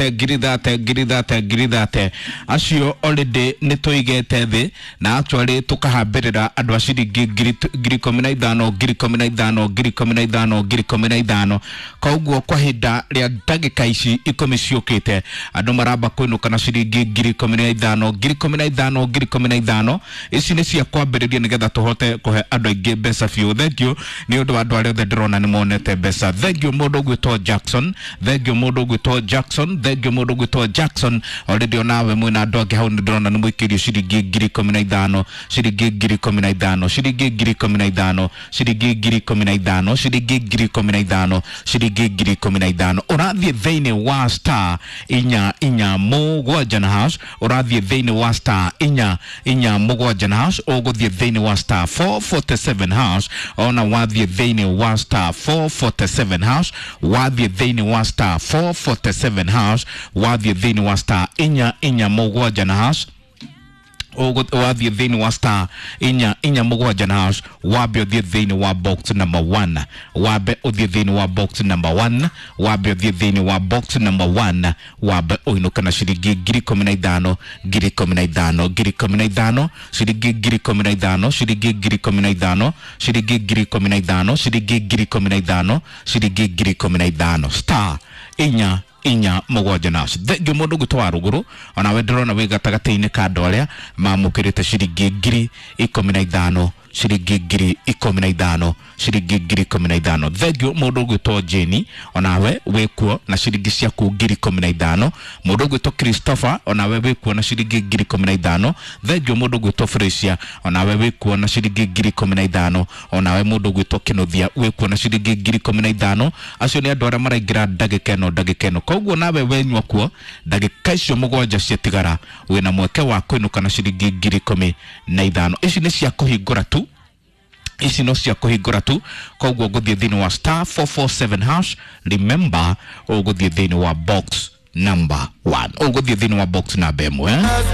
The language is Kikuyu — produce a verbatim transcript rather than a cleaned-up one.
Ngiri thate, ngiri thate, ngiri thate acio already nĩ tũigĩte thĩ na actually tũkahambĩrĩra andũ a ciringi ngiri ngiri ikũmi na ithano, ngiri ikũmi na ithano, ngiri ikũmi na ithano, ngiri ikũmi na ithano. Koguo kwa ihinda rĩa ndagĩka ici ikũmi ciũkĩte, andũ maramba kũinũka na ciringi ngiri ikũmi na ithano, ngiri ikũmi na ithano, ngiri ikũmi na ithano. Ici nĩ cia kwambĩrĩria nĩgetha tũhote kũhe andũ aingĩ mbeca biũ. Thank you nĩ ũndũ wa andũ arĩa othe ndĩrona nĩ monete mbeca. Thank you mũndũ ũgwĩtwo Jackson, thank you mũndũ ũgwĩtwo Jackson, thank you mũndũ ũgwĩtwo Jackson. Already onawe mwĩna andũ angĩ hau nĩ ndĩrona nĩ mũikĩirio ciringi ngiri ikũmi na ithano, ciringi ngiri ikũmi na ithano, ciringi ngiri ikũmi na ithano, ciringi ngiri ikũmi na ithano, ciringi ngiri ikũmi na ithano, ciringi ngiri ikũmi na ithano. Ũrathiĩ thĩinĩ wa star inya inya mũgwanja na hash, ũrathiĩ thĩinĩ wa star inya inya mũgwanja na hash, ũgũthiĩ thĩinĩ wa star four forty-seven hash. Ona wathiĩ thĩinĩ wa star four forty-seven hash, wathiĩ thĩinĩ wa star four forty-seven hash, wathiĩ thĩinĩ wa star inya inya mũgwanja na hash, wathiĩ thĩinĩ wa star inya inya mũgwanja na hash, wambe ũthiĩ thĩinĩ wa box number one, wambe ũthiĩ thĩinĩ wa box number one, wambe ũthiĩ thĩinĩ wa box number one, wambe ũinũke na ciringi ngiri ikũmi na ithano, ngiri ikũmi na ithano, ngiri ikũmi na ithano, ciringi ngiri ikũmi na ithano, ciringi ngiri ikũmi na ithano, ciringi ngiri ikũmi na ithano, ciringi ngiri ikũmi na ithano, ciringi ngiri ikũmi na ithano, star inya inya mũgwanja na thengio. Mũndũ ũgwĩtwo wa rũgũrũ, onawe ndĩrona wĩ gatagatĩ-inĩ ka andũ arĩa mamũkĩrĩte ciringi ngiri ikũmi na ithano, ciringi ngiri ikũmi na ithano, ciringi ngiri ikũmi na ithano. Thengio mũndũ ũgwĩtwo Jeni, onawe wĩkuo na ciringi ciaku ngiri ikũmi na ithano. Mũndũ ũgwĩtwo Christopher, onawe wĩkuo na ciringi ngiri ikũmi na ithano. Thengio mũndũ ũgwĩtwo Fresia, onawe wĩkuo na ciringi ngiri ikũmi na ithano. Onawe mũndũ ũgwĩtwo Kĩnuthia wĩkuo na ciringi ngiri ikũmi na ithano. Acio nĩ andũ arĩa maraingĩra ndagĩka ĩno, ndagĩka ĩno. Koguo nawe wenyua kuo ndagĩka icio mũgwanja ciatigara, wĩna mweke wa kũinũka na ciringi ngiri ikũmi na ithano. Ici nĩ cia kũhingũra tu, ici no cia kũhingũra tu. Koguo ngũthiĩ thĩinĩ wa star four four seven hash. Remember, ũgũthiĩ thĩinĩ wa box number one, ũgũthiĩ thĩinĩ wa box namba ĩmwe.